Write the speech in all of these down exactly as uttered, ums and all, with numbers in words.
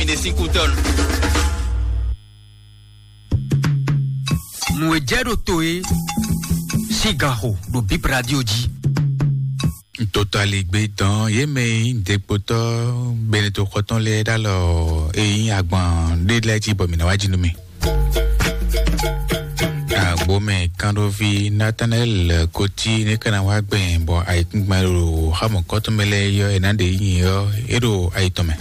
Ɖe sín kútɔ́ nu. Nǔ e jɛ ɖo to e sín gan xo ɖo Bib Radio jí. Ntotɔ́ aligbé dɔn yě mɛ e nyí ɖěkpotɔ́ Benito xɔtɔn lɛ́ɛ ɖó alɔ e nyí agban ɖé lɛ́ɛ jí bɔ mǐ ná wá jí nú mì. Agbomɛ kánɖóví Nathanael Koti ní ka ná wá gbɛn bɔ ayǐkúngban e ɖo xámɔ̌kɔ́tɔn mɛ lɛ́ɛ yɔ è nǎ ɖe nyi ɔ́, é ɖo ayi tɔn mɛ.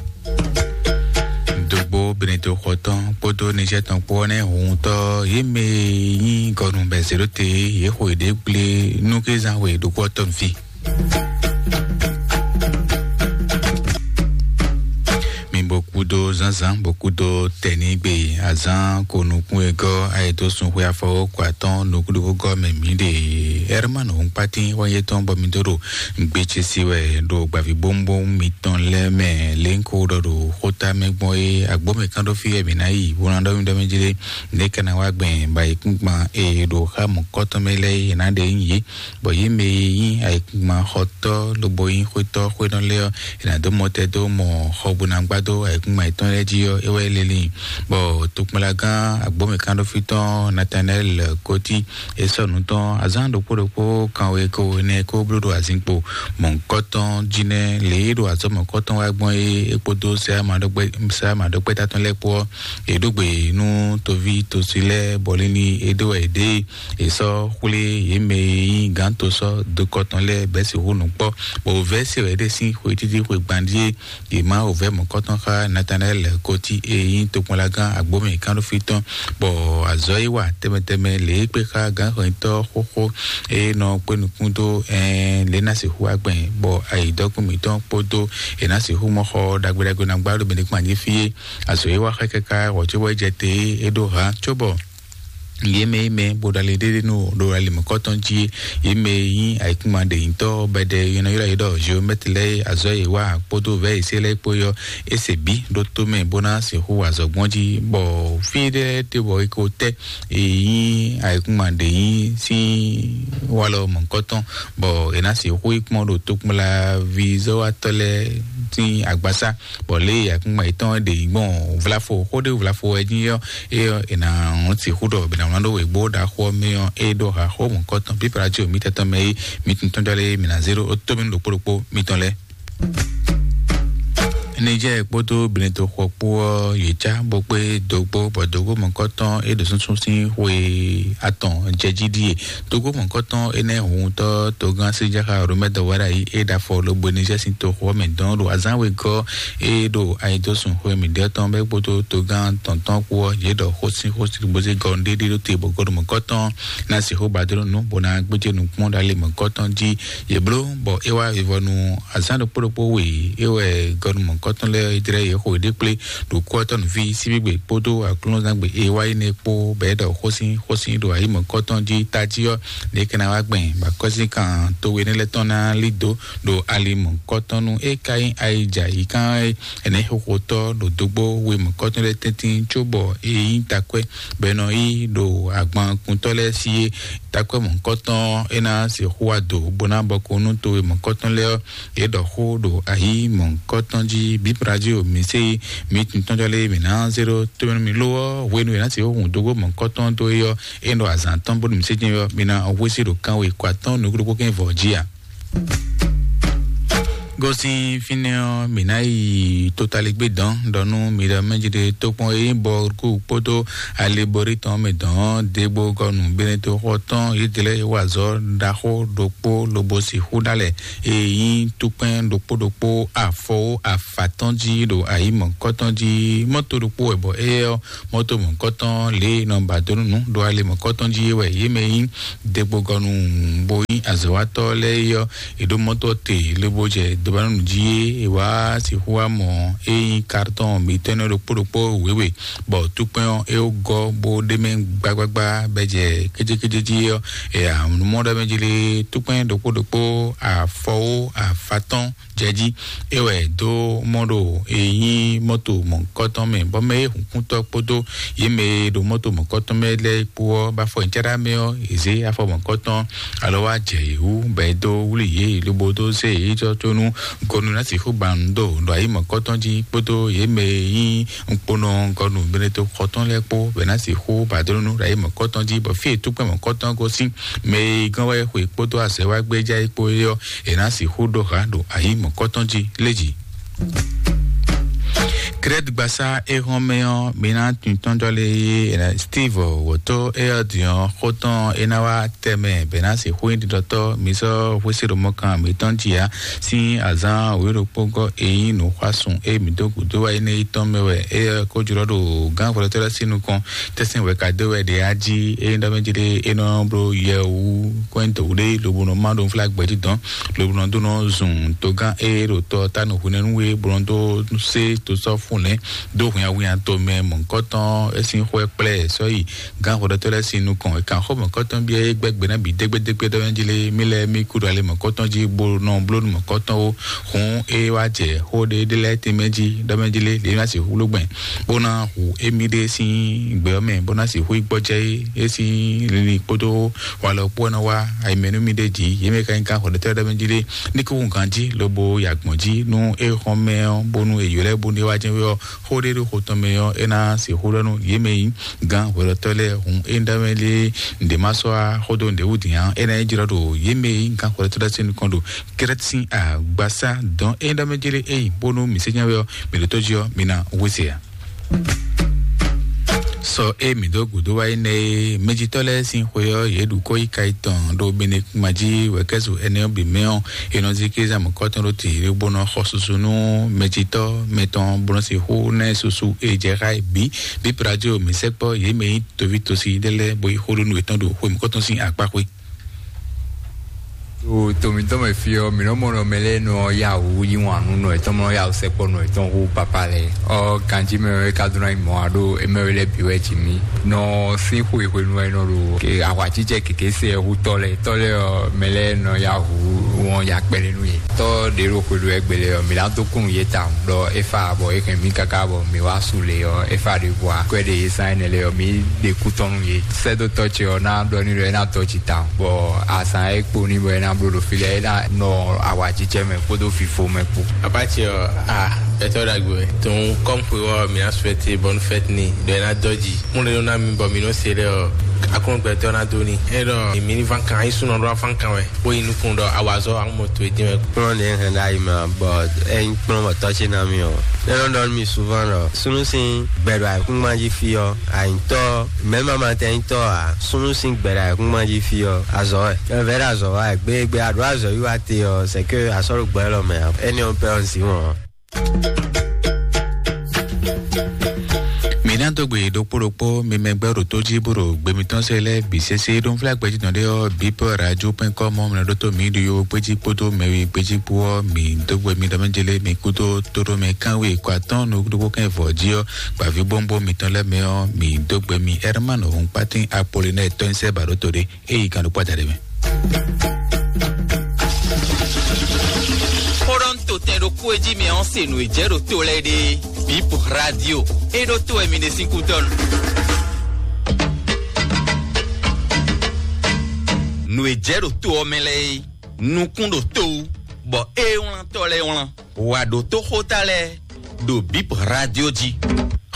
Dogbo Benito xɔtɔn kpódó Niger tɔn kpó ɔ́ nɛ́ huntɔ́ yě mɛ e nyí gɔnu bɛ zě ɖó te yě xo yěɖée gblé nú kézán xwe ɖokpó ɔ́ tɔn fí. Mi bo kúdó zánzán bo kúdó tɛ̌nígbe azán ko nukún e gɔ́ ayɛtɔ́súnxwé afɔwókɔ atɔ́ɔ́n nukúnɖókógɔ́ mɛ mǐ ɖe. Ɛrman Hɔnkpátín wá yé tɔn bɔ mi dó ɖo gbécési wɛ ɖo gbavǐbówúnbówún mitɔn lɛ́ɛ mɛ lě ń ko ɖɔ ɖo xóta mɛ gbɔn é agbǒmɛ kán ɖó fí wɛ mǐ ná yi bó ná ɖɔ mì ɖɔ mì jí ɖé. Nɛ̌ ka ná wá gbɛn bɔ ayǐkúngban e ɖo xá mɔ̌kɔ́tɔn mɛ lɛ́ɛ é ná ɖe nyí yě, bɔ yě mɛ e nyí ayǐkúngban xɔtɔ́ lobo nyí xwétɔ́ xwénɔ lɛ́ɛ ɔ́, è nǎ dó mɔtɛn dó mɔ xɔ bó ná gbá dó ayǐkúngban yětɔn lɛ́ɛ jí ɔ́, é wɛ é lé lin. Bɔ tokpɔnlagán agbǒmɛ kán ɖó fí tɔn Nathanael Koti, é sɔ́ nǔ tɔn azǎn ɖokpó ɖokpó kanwe ko énɛ́ kó bló ɖo azinkpo mɔ̌hunkɔtɔn jí nɛ́ lě e ɖo azɔ̌ mɔ̌hunkɔtɔn wá gbɔn é, é kpódó sɛ́ amaɖɔkpɛ́ta tɔn lɛ́ɛ kpó ɔ́, è ɖó gbe nú toví tosi lɛ́ɛ bɔ lílí é ɖó wɛ è ɖe. È sɔ́ xwlé yě mɛ e nyí gǎn to sɔ́ dokɔ tɔn lɛ́ɛ bɛ́ sixú nǔ kpɔ́, bɔ wǒvɛ́ se wɛ é ɖe sín xwe títí xwe gban ɖíe. Yě má wǒvɛ́ mɔ̌kɔ́tɔn xá Nathanael Koti e nyí tokpɔnlagán agbǒmɛ kánɖófí tɔn, bɔ azɔ̌ e wa tɛnmɛ tɛnmɛ lě e kpé xá gǎnxɔnyitɔ́ xóxó e nɔ kpé nukún dó ɛn lě ná sixú wá gbɛn, bɔ ayǐdɔkún mǐtɔn kpódó è nǎ sixú mɔ xɔ ɖagbe ɖagbe ná gbá ɖo mɛ ɖé kpán jí fí é. Azɔ̌ e wa xá káká wɔ̌ cóbɔ é jɛ te é ɖó ha cóbɔ yě mɛ e mɛ bó ɖo ali ɖéɖé nú ɖo ali mɔ̌kɔtɔn jí é, yě mɛ e nyí ayǐkúngban ɖe nyitɔ́ bɛɖɛ e nɔ ylɔ́ yě ɖɔ geomɛtri lɛ́ɛ é, azɔ̌ e wa kpódó vɛ̌ e se lɛ́ɛ kpó yɔ é se bǐ ɖó tó mɛ bó ná sixú wa azɔ̌ gbɔn jí, bɔ fí ɖé te bɔ é ko tɛ́ e nyí ayǐkúngban ɖe nyí sín walɔ mɔ̌kɔtɔn, bɔ è nǎ sixú yi kpɔ́n ɖo tokpɔnlaví zɔ́watɔ́ lɛ́ɛ sín agbasá. Bɔ lě e akúngban yětɔn ɖe yi gbɔn vlafo xó ɖé vlafo wɛ jí ɔ́, é ɔ́, è nǎ sixú ɖɔ bɛ nǎ wlán ɖó wěgbó ɖaxó ɔ́ mɛ ɔ́, é ɖó haxó mɔ̌kɔtɔn pípalajú mǐtɛn tɔn mɛ é, mi tun tɔn jɔ lé mi nǎ zé ɖó ó tó mì ɖokpó ɖokpó mitɔn lɛ́ɛ. Nijɛ́ɛ kpódó Benito xɔ kpó ɔ́, yě cá bó kpé dógbó, bɔ dógbó mɔ̌kɔtɔn é ɖo súnsún sín xwe atɔn jɛ jí ɖíe. Togo mɔ̌kɔtɔn énɛ́ huntɔ́ togán Séjáxa Romɛ́ dɔwɛ́ɖá yi é ɖo afɔ lobo Nizɛ́ɛ sín toxo ɔ́ mɛ dɔn ɖo azǎn wegɔ́ é ɖo ayidosùn xwe mǐɖétɔn bɛ́ kpódó togán tɔ̌ntɔn kpó ɔ́, yě ɖɔ xó sín xó sín bó zé gɔ́ ɖéɖé ɖó te bɔ gɔ́ ɖo mɔ̌kɔtɔn ná sixú ba dó nǔ bó ná gbéjé nukún ɖo ali mɔ̌kɔtɔn jí. Yě bló bɔ é wá vivɔnu azǎn ɖokpó ɖokpó we é wɛ gɔ́ ɖo mɔ̌kɔtɔn lɛ́ɛ é jlɛ́ yě xo yěɖée kplé ɖo kú ɔ́ tɔn nǔví síbígbe kpódó aklúnɔzán gbe e wá yi nɛ́ kpó bɔ é ɖɔ xósin xósin ɖo ayi mɔ̌kɔtɔn jí tají ɔ́, ɖě ká ná wá gbɛn bɔ akɔ́síkan towe énɛ́ lɛ́ɛ tɔn ná lí dǒ ɖo ali mɔ̌kɔtɔn nú é ka nyí ayija yǐkán ɛnɛ́ xoxotɔ́ ɖo dógbó we mɔ̌kɔtɔn lɛ́ɛ tɛ́ntin cóbɔ é nyí takwɛ́ bɔ è nɔ yí ɖo agbankuntɔ́ lɛ́ɛ sí é. Takwɛ́ mɔ̌kɔtɔn é ná sixú wá dǒ bó ná bɔ ko nú towe mɔ̌kɔtɔn lɛ́ɛ ɔ́, yě ɖɔ xó ɖo ayi mɔ̌kɔtɔn jí bíbradio mǐ se mǐ tintɔ́njɔ lé mǐ ná zé ɖó tómɛnú mì lo ɔ́, hwenu e ná sixú hun dógó mɔ̌kɔtɔn dó é ɔ́, é nɔ azǎn tɔn bónú mǐ se jɛ́n ɔ́, mi ná hwesí ɖo kánwe kɔ atɔ́ɔ́n nukúnɖokpó kɛ́n vɔ̌ jí a? Gosín fínɛ́ ɔ́, mǐ ná yi totaligbé dɔn ɖɔ nú mi ɖɔ mɛ jí ɖe tókpɔn e nyí bɔ kú kpódó aliborí tɔn mɛ dɔn ɔ́, dégbó gɔnu Benetoxɔ tɔn yědɛlɛ e wa azɔ̌ ɖaxó ɖokpó lobo sixú ɖó alɛ e nyí tukpɛn ɖokpó ɖokpó afɔwó afatɔ́n jí ɖo ayǐ mɔ̌kɔtɔn jí. Mɔ́to ɖokpó wɛ bɔ éyɛ́ ɔ́, mɔ́to mɔ̌kɔtɔn lě e nɔ ba dó nú nǔ ɖo ali mɔ̌kɔtɔn jí é wɛ yě mɛ nyí degbogɔnu bó nyí azɔ̌watɔ́ lɛ́ɛ é ɔ́, è ɖó mɔ́to ɔ́ te lobo jɛ dobanúnu jí é, è wá sixú wá mɔ é nyí kartɔn mǐtɔn ɖokpó ɖokpó wěwe, bɔ túkpɛn ɔ́ é gɔ́ bó ɖ'é mɛ gbágbágbá bɔ é jɛ kéjékéjé jí ɔ́, è amǔnumɔ ɖɔ mɛ jí lé túkpɛn ɖokpó ɖokpó afɔwó afatɔ́n jɛ jí. É wɛ dó mɔ ɖo e nyí mɔ́to mɔ̌kɔtɔn mɛ, bɔ mɛ e hunkúntɔ́ kpódó yě mɛ e ɖo mɔ́to mɔ̌kɔtɔn mɛ lɛ́ɛ kpó ɔ́ ba afɔ nyi cɛ́ɖá mɛ ɔ́, yě zé afɔ mɔ̌kɔtɔn alɔ wá jɛ yě wú, bɔ é dó wlí yě lobo dó zé yě jɔ có nú Gɔnu ná sixú ba nǔ ɖo ɖo ayi mɔ̌kɔtɔn jí kpódó yě mɛ e nyí ŋkponɔ gɔnu Benedikto xɔtɔn lɛ́ɛ kpó bɛ ná sixú ba dó nú ɖo ayi mɔ̌kɔtɔn jí, bɔ fí e túkpɛn mɔ̌kɔtɔn gosín mɛ e gán wɛ xwe kpódó azɛ wá gbé já é kpó é ɔ́, è ná sixú ɖó ha ɖo ayi mɔ̌kɔtɔn jí lé jí. Krɛt gbasá éhɔn mɛ ɔ́, mi ná tun tɔnjɔ lé yé Steve wòtó é ɔ́ din ɔ́ xó tɔn é ná wá tɛmɛ bɛ ná sixú nyí ɖiɖɔtɔ́ mi sɔ́ hwésé ɖo mɔkan mǐtɔn jí ǎ. Sín azán wěɖokpógɔ́ e nyí nǔxwásún e mǐ dó gǔdo wá énɛ́ yi tɔn mɛ wɛ é ko jlɔ́ ɖo gǎn hwlɛ́tɔ́ lɛ́ɛ sín nukɔn. Tɛ́sɛn wɛ ka dó wɛ ɖě á jí é ɖɔ mɛ jí ɖé é nɔ bló yɛ wú kɔ́nyitɔ́ wú ɖé lobo nɔ má ɖo nflá gbɛ̌ jí dɔn lobo nɔ dó nɔ zun togán é ɖo tɔ tánu hwinɛ́nú é bó nɔ dó sé to sɔ́ fún lɛ́ dó hwinhawhínha tomɛ mɔ̌hunkɔtɔn é sín xwɛ kplá ɛ sɔ́ yi gán hwɛɖɔtɔ́ lɛ́ɛ sín nukɔn. È kan xó mɔ̌kɔtɔn byɔ́ é gbɛ́ gbe ná bǐ dégbédégbé ɖɔ mɛ jí lé mí lɛ́ɛ mí kú ɖo alɛ mɔ̌kɔtɔn jí bó nɔ bló nú mɔ̌kɔtɔn ó. Hǔn é wá jɛ xó ɖé ɖé lɛ́ɛ tɛnmɛ jí ɖɔ mɛ jí lé lě ná sixú bló gbɛn bó ná hu émí ɖé sín gbɛ ɔ́ mɛ bó ná sixú yi gbɔjɛ́ é sín linlin kpódó walɔ kpó ɔ́ ná wá ayimɛ nú mí ɖé jí. Yě mɛ ka nyí gán hwɛɖɔtɔ́ ɖɔ mɛ jí lé ní kúkú ganjí lobo yi agbɔ̌n jí nú é xɔ́n mɛ ɔ́ bónú è ylɔ́ ɛ bónú é wá jɛ́n wé ɔ́, xó ɖé ɖo xo tɔn mɛ ɔ́ é ná sixú ɖɔ nú yě mɛ nyí gán hwɛɖɔtɔ́ lɛ́ɛ hun é ɖɔ mɛ lé ǹdě má sɔ́ á xódó ǹdě wú dǐn á é ná nyí jlɔ́ ɖo yě mɛ nyí gán hwɛɖɔtɔ́ lɛ́ɛ sín nukɔn ɖo kɛ́rɛ́tɛ́ sín agbasá dɔn é ɖɔ mɛ jélé é yi bónú mǐ sé nyá wɛ ɔ́ mǐ ɖo tó jí ɔ́ mǐ ná wé se ǎ. Sɔ e mǐ dó gǔdo wá yi nɛ e mɛjitɔ́ lɛ́ɛ sín xwe ɔ́ yě ɖu kɔ́ yi ka yi tɔn ɖo benekuma jí wɛ̌kɛ́zu ɛnɛ ɔ́ bǐ mɛ ɔ́, è nɔ zí kéza mɔ̌kɔtɔn ɖó tǐ bó nɔ xɔ susu nú mɛjitɔ́ mɛtɔn bó nɔ sixú ná ɛ susu e jɛ xá ɛ bǐ. Bíbradio mǐ sɛkpɔ́ yě mɛ nyí toví tosi ɖé lɛ́ɛ bó yi xó ɖó nú yětɔn ɖo xwe mɔ̌kɔtɔn sín akpá xwé. To to mǐtɔn mɛ fí ɔ́, mǐ nɔ mɔ nɔ mɛ lɛ́ɛ nɔ yá wǔ yí wǎn nú nɔ yětɔn, mɔ nɔ yá wǔ sɛkpɔ́ nɔ yětɔn hú papa lɛ́ɛ. Ɔ ganjí mɛ wɛ ka dó ná nyí mɔ̌ ǎ ɖó émɛ wɛ lɛ́ɛ bǐ wɛ jǐ mì. Nɔ sín xwe hwenu wɛ nɔ ɖo ahwacíjɛ kěké se ɛ hú tɔ́ lɛ́ɛ. Tɔ́ lɛ́ɛ ɔ́, mɛ lɛ́ɛ nɔ yá hǔ wɔn ya kpɛɖé nú yě. Tɔ́ ɖě ɖo xwe ɖo wɛ gbele ɔ́, mǐ ná dó kún nú yě tawun ɖɔ é fa bɔ é hɛn mì káká bɔ mǐ wá su le ɔ́, é fa ɖě bɔ akwɛ́ ɖe yě zán énɛ́ lɛ́ɛ ɔ́, mǐ ɖe kú tɔn nú yě. Sɛ́dótɔ́ ce ɔ́ ná ɖɔ n'i ɖɔ é ná dɔ́ jǐ tawun, bɔ azǎn e kpo n'i bɔ é ná bló ɖo fí lɛ́ɛ, é ná nɔ awǎjijɛ mɛ kpódó fifo mɛ kpó. Papa ce ɔ́, a, gbɛtɔ́ ɖagbe wɛ. Tɔn kɔ́m xwe ɔ́, mǐ ná suɛte bɔnu fɛ́t ni ɖɔ é ná dɔ́ jǐ. Mú ɖé nɔ ná mi bɔ mǐ nɔ se ɖɛ ɔ́, akɔ́nɔ gbɛtɔ́ ná dó ni. É ɖɔ mǐ ní ván kan, é súnɔ ɖó ván kan wɛ, bó yi nukún ɖɔ awazɔ́ àwọn mɔ to e dín wɛ. Kplɔ́n ɖě hɛn ɖ'ayǐ mɛ ǎ, bɔ é nyí kplɔ́n bɔ tɔ́ ce ná mì ɔ́. É nɔ ɖɔ nú mì souvent ɖɔ súnnu sín gbɛ ɖo ayǐkúngban jí fí ɔ́, ànyǐtɔ́, mɛ̌ ma ma tɛn nyí tɔ́ ǎ. Súnnu sín gbɛ ɖo ayǐkúngban jí fí ɔ́, azɔ̌ wɛ. Ɛ vɛ̌ ɖo azɔ̌ wa wɛ, gbé gbé a ɖǒ azɔ̌ yí wa te ɔ́, c'est que a sɔ́ ɖo gbɛ élɔ́ mɛ ǎ. Énɛ́ ɔ́ pɛ́ ɔ́, un zǐn wɔn ǎ. Mǐ ná dó gbe ɖokpó ɖokpó mi mɛ gbɛ́ ɖo tó jí bó ɖo gbe mitɔn se lɛ́ɛ bǐ sésé ɖó nflá gbɛjínɔ ɖé ɔ́, bípɔ radio pɛn kɔ́ mɔ mlɛ ɖótó mǐ ɖo yo gbéjí kpódó mɛwi gbéjí kpó ɔ́, mǐ dó gbe mi ɖɔ mɛ jélé mi kúdó tóɖó mɛ kánwé kɔ atɔ́n nukúɖokpó kɛn vɔ̌ jí ɔ́, gbǎvíbówúnbó mitɔn lɛ́ɛ mɛ ɔ́, mǐ dó gbe mi Herman Hɔnkpátín Apolinɛ́ɛ tɔ́nyísɛ́ ba ɖótó ɖé. Eyi kan ɖo kpɔ́ da ɖé mɛ. Xó ɖɔ ń to tɛn ɖokpó e jí mi ɔ́ se nǔ e jɛ ɖo to lɛ́ɛ ɖe. Bip radio. E ɖo to wɛ mi ɖe sín kútɔ́nu. Nǔ e jɛ ɖo to ɔ́ mɛ lɛ́ɛ é, nukún ɖo to wú, bɔ é wlán tɔ́ lɛ́ɛ wlán. Wà ɖo tó xóta lɛ́ɛ ɖo Bip Radio jí.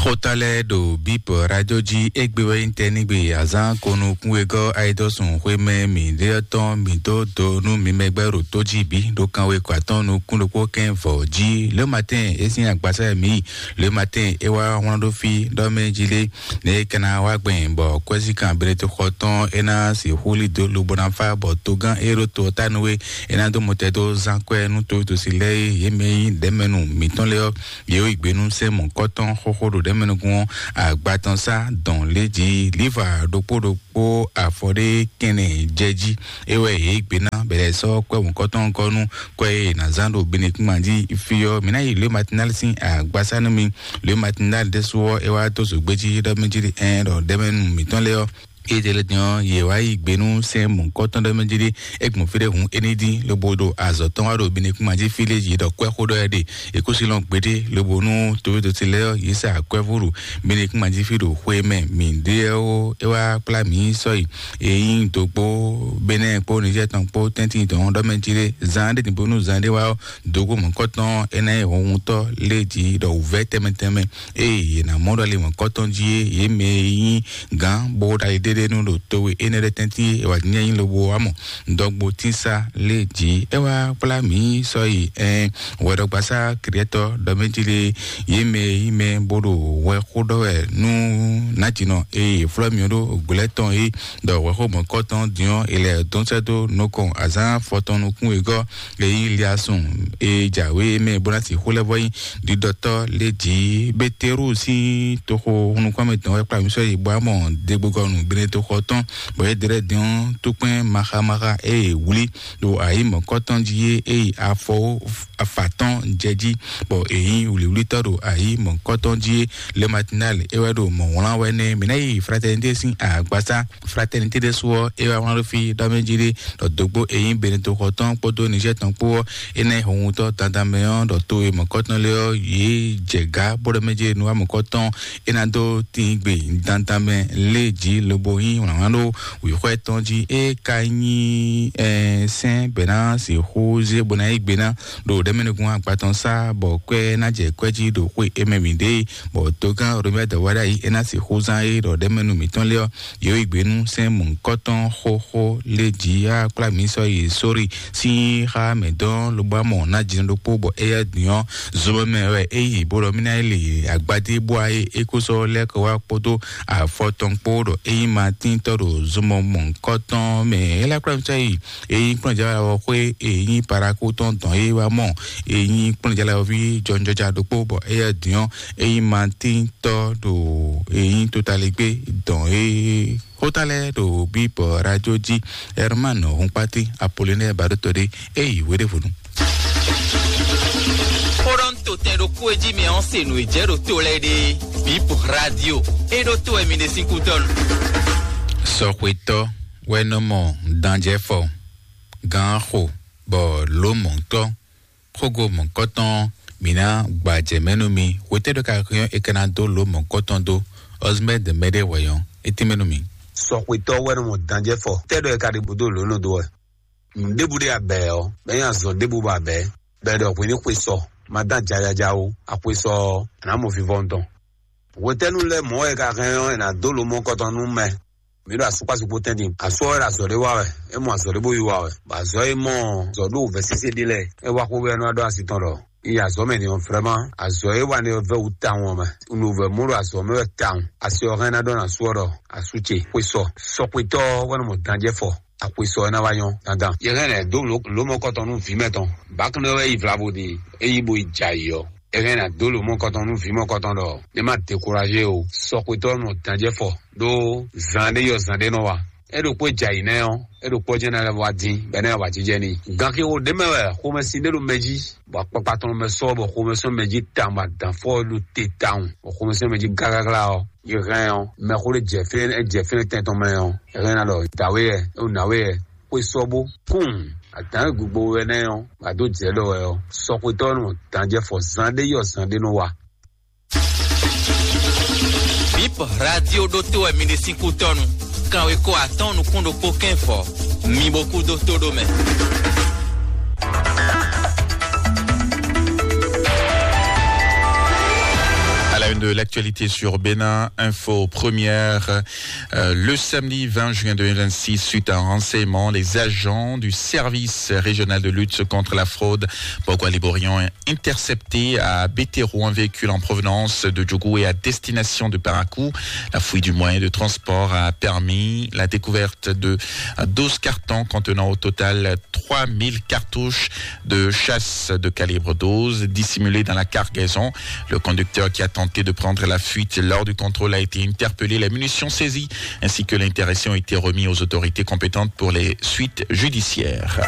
Xóta lɛ́ɛ ɖo Bip Radio jí égbé wɛ nyí tɛ́ nígbe azán konukún wegɔ́ ayidɔ́sùn xwémɛ mǐɖétɔn mǐ dó do nú mi mɛgbɛ́ ɖo tó jí bǐ ɖo kanwe kɔ atɔ́n nukún ɖokpó kɛn vɔ̌ jí. Le matin é sín agbasá mǐ yi. Le matin é wá wlán ɖó fí ɖɔ mɛ jí lé. Ne é ka ná wá gbɛn bɔ kwɛ́síkan Benedikto xɔ tɔn é ná sixú lí dó lobo ná fá bɔ togán e ɖo to ɔ́ ta nú é, é ná dó mɔtɛ dó zán kwɛ́ nú toví tosi lɛ́ɛ e yě mɛ nyí ɖɛ̌mɛnu mǐtɔn lɛ́ɛ ɔ́, yě yi gbe nú sɛ́n mɔ̌kɔ́tɔn xóxó ɖo ɖɛ̌mɛnukún ɔ́ agba tɔn sá dɔn lě jí. Líva ɖokpó ɖokpó afɔ ɖé kɛnɛ jɛ jí. É wɛ yě gbe ná bɛlɛ sɔ́ kwɛ́ mɔ̌kɔ́tɔn gɔ́ nú kwɛ́ e è nǎ zán ɖo Benedikto jí fí ɔ́. Mǐ ná yi Le Matinal sín agbasá nú mi. Le Matinal ɖésú ɔ́, é wá dó zǒgbé jí ɖɔ mɛ jí ɛn ɖɔ ɖɛ̌mɛnu mǐtɔn lɛ́ɛ ɔ́, Étɛlɛ din ɔ́, yě wá yi gbe nú sɛ́n mɔ̌hunkɔtɔn ɖɔ mɛ jí ɖé, é gbɔn fí ɖé hǔn é ní dín, lobo ɖo azɔ̌ tɔn wá ɖo Benɛkúma jí fí lé yě ɖɔ kwɛ́ xó ɖɔ wɛ ɖe, è kó sí lɔn gbeɖé, lobo nú tovétosi lɛ́ɛ ɔ́, yě sa akwɛ́ vú ɖo Benɛkúma jí fí ɖo xwe mɛ mǐ ɖe ɔ́, é wá kplá mǐ sɔ́ yi. È nyí dǒ kpó Benɛ́ɛ kpó Nizɛ́ɛ tɔn kpó tɛ́ntin tɔn ɖɔ mɛ jí ɖé, zan ɖé din bónú zan ɖé wá ɔ́, dǒ kpó mɔ̌hunkɔtɔn é ná nyí hɔnhuntɔ́ lé jí ɖɔ wǔvɛ́ tɛnmɛ tɛnmɛ. Ée yě ná mɔ ɖɔ ali mɔ̌kɔtɔn jí é, yě mɛ e nyí gǎn bó ɖali ɖéɖénu ɖo towe énɛ́ lɛ́ɛ tɛ́ntin é, è wǎ jínjɔ́n nyí lobo wá mɔ dɔgbo tínsá lé jí. É wá kplá mǐ sɔ́ yi ɛn hwɛɖɔgbasá kɛɖɛtɔ́ ɖɔ mɛ jí lé, yě mɛ e nyí mɛ bó ɖo hwɛ xó ɖɔ wɛ nú nǎjínɔ e è flɔ́ mì ɔ́ ɖó gblɛ́ tɔn é, ɖɔ hwɛxó mɔ̌kɔtɔn din ɔ́, è lɛ dɔn sɛ́ dó nukɔn azǎn afɔtɔn nukún wegɔ́ e nyí Liasun e jǎwe mɛ bó ná sixú lɛ́ vɔ nyí ɖiɖɔtɔ́ lé jǐ. Beteru sín toxo nukún mɛ tɔn wɛ kplá mì sɔ́ yi bɔ amɔ degbogɔnu Benetoxɔ tɔn, bɔ é ɖlɛ́ din ɔ́, túkpɛn maxamaxa e è wlí ɖo ayǐ mɔ̌kɔtɔn jí é, é yi afɔ afa tɔn jɛ jí, bɔ è nyí wlǐwlítɔ́ ɖo ayǐ mɔ̌kɔtɔn jí é. Le Matinal é wɛ ɖo mɔ̌ wlán wɛ nɛ́. Mǐ ná yi Fraternité sín agbasá. Fraternité ɖésú ɔ́, é wá wlán ɖó fí ɖɔ mɛ jí ɖé, ɖɔ dǒgbó e nyí Benetoxɔ tɔn kpódó Nizɛ́ɛ tɔn kpó ɔ́, é ná nyí hɔnhuntɔ́ dandan mɛ ɔ́, ɖɔ to e mɔ̌kɔtɔn lɛ́ɛ ɔ́, yě jɛ gǎ bó ɖɔ mɛ jí ɖé nú wá mɔ̌kɔtɔn tɔn, é ná dó tín gbe dandan mɛ lé jí lobo nyí wlǎnwlán ɖó wǐxwɛ́ tɔn jí. É ka nyí ɛɛ sɛ́n bɛ̌ ná sixú zé bó ná yí gbe ná ɖo ɖɛ̌mɛnukún agba tɔn sá, bɔ kwɛ́ ná jɛ kwɛ́ jí ɖo xwé é mɛ mǐ ɖe, bɔ togán Romɛ́ dɔ̌wáɖá yí é ná sixú zán é ɖɔ ɖɛ̌mɛnu mǐtɔn lé ɔ́, yě yi gbe nú sɛ́n mɔ̌hunkɔtɔn xóxó lé jí á kplá mǐ sɔ́ yi sórí sín xá mɛ dɔn lobɔ amɔ ná jǐnɔ ɖokpó, bɔ éyɛ́ din ɔ́, zomɛ mɛ wɛ é yi bó ɖɔ mí ná yi lě agbadé bó wá é é kó sɔ́ lɛ́ kɔ wá kpódó afɔ tɔn kpó ɖɔ é nyí Matín tɔ́ ɖo zomɔ mɔ̌hunkɔtɔn mɛ. É lá kplá mì sɔ́ yi é nyí kplɔ́njálawɔxwé, é nyí Parakú tɔn dɔn é wá mɔ, é nyí kplɔ́njálawɔví jɔnjɔja ɖokpó, bɔ éyɛ́ din ɔ́, é nyí Matín tɔ́ ɖo é nyí Totaligbé dɔn é. Xóta lɛ́ɛ ɖo bíbɔ radio jí. Herman Hunkpati Apollinaire Baɖótɔɖé é yi wéɖévonu. Xóɖɔ́ntotɛn ɖokpó e jí mi ɔ́ se nǔ e jɛ ɖo to lɛ́ɛ ɖe. Bip radio é ɖó to wɛ mi ɖe sín kútɔ́nu. Sɔxwetɔ́ wɛ nɔ mɔ danjɛfɔ gán xo bɔ lǒ mɔ̌tɔ́ xógo mɔ̌kɔtɔn mǐ ná gbajɛ mɛ nú mi. Hwetɛ́ ɖɔ ka hɛn é ka ná dó lǒ mɔ̌kɔtɔn dó ɔzmɛ́ de mɛ ɖé hwɛ̌ ɔ́, é tínmɛ nú mi. Sɔxwetɔ́ wɛ nɔ mɔ danjɛfɔ tɛ́ ɖɔ é ka ɖi bó dó lǒ nɔ dó wɛ. Nǔɖébú ɖé abɛ ɔ́, bɛ́ nyí azɔ̌ ɖébú bɔ abɛ, bɛ́ ɖɔ hwě ní xwe sɔ, ma dán jajaja ó, axwe sɔ ɔ́, a nǎ mɔ vivɔnu tɔn. Hwetɛ́nu lɛ́ɛ mɔ̌ wɛ è ka hɛn ɔ́, è nǎ dó lǒ mɔ̌kɔtɔn nú mɛ? Mǐ ɖo asukpásu kpó tɛ́ntin. Asú ɔ́ wɛ ɖo azɔ̌ ɖé wa wɛ, é mɔ azɔ̌ ɖé bó yí wa wɛ. Bɔ azɔ̌ e mɔ zɔ̌ ɖó vɛ̌ sésé ɖé lɛ́ɛ, é wá xó wɛ nɔ wá ɖó asi tɔn ɖɔ: "Yi azɔ̌ mɛ din ɔ́, vrɛ́ma azɔ̌ e wa nɛ ɔ́ vɛ́ wǔ tawun ɔ́ mɛ. Un ɖo vɛ̌ mɔ ɖo azɔ̌ mɛ wɛ tawun. Asi ɔ́ hɛn ná ɖɔ nú asú ɔ́ ɖɔ: 'Asú ce, xwe sɔ.' Sɔxwetɔ́ ɔ́ wɛ nɔ mɔ danjɛ́ fɔ. Axwe sɔ ɔ́ ná wá nyɔ́ dandan. Yě hɛn lɛ̌ dó lǒ- lǒmɔkɔtɔn nú vǐ mɛtɔn. Bǎkúnɖé wɛ yi vlavo din, é yí bo yi jɛ ayǐ ɔ́. È hɛn ná dó lǒmɔkɔtɔn nú vǐ mɔkɔtɔn ɖɔ: 'Ní ma dekuraze o.' Sɔxwetɔ́ nɔ danjɛ́ fɔ ɖó zan ɖé yɔ zan ɖé nɔ wa. É ɖo kpó jɛ ayǐ nɛ́ ɔ́, é ɖo kpɔ́ jɛ́n ná lɛ́ wá dín, bɔ é ná wá jínjɛ́n n'i. Gan xixo ɖě mɛ wɛ xomɛsin ɖé ɖo mɛ jí, bɔ akpakpa tɔn mɛ sɔ́ bɔ xomɛ sɔ́ mɛ jí tawun, bɔ adǎn fɔ ɖo te tawun, bɔ xomɛ sɔ́ mɛ jí gágágá ɔ́, yě hɛn ɔ́, mɛxó ɖé jɛ fínɛ́, é jɛ fínɛ́ tɛn tɔn mɛ ɔ́, é hɛn ná ɖɔ: 'Dǎwe yɛ, é wú nǎwe yɛ, xwe sɔ́ bó.' Kún adǎn gbogbo wɛ nɛ́ ɔ́, bɔ adó jɛ ɖɔ wɛ ɔ́, sɔxwetɔ́ nɔ danjɛ́ fɔ zan ɖé yɔ zan ɖé nɔ wa. Bip radio ɖótó wɛ mi ɖe sín kútɔ́nu. Kanwekó atɔ́ɔ́n nukún ɖokpó kɛ́n fɔ. Mi bo kú dó tó ɖó mɛ. À la une de l'actualité sur Bénin Info Première, euh, le samedi vingt juin deux mille vingt-six, suite à un renseignement, les agents du service régional de lutte contre la fraude, Bogo Liborian, intercepté à Bétero un véhicule en provenance de Djougou et à destination de Parakou. La fouille du moyen de transport a permis la découverte de douze cartons contenant au total trois mille cartouches de chasse de calibre douze dissimulées dans la cargaison. Le conducteur qui a tenté de prendre la fuite lors du contrôle a été interpellé. Les munitions saisies ainsi que l'intéressé ont été remis aux autorités compétentes pour les suites judiciaires.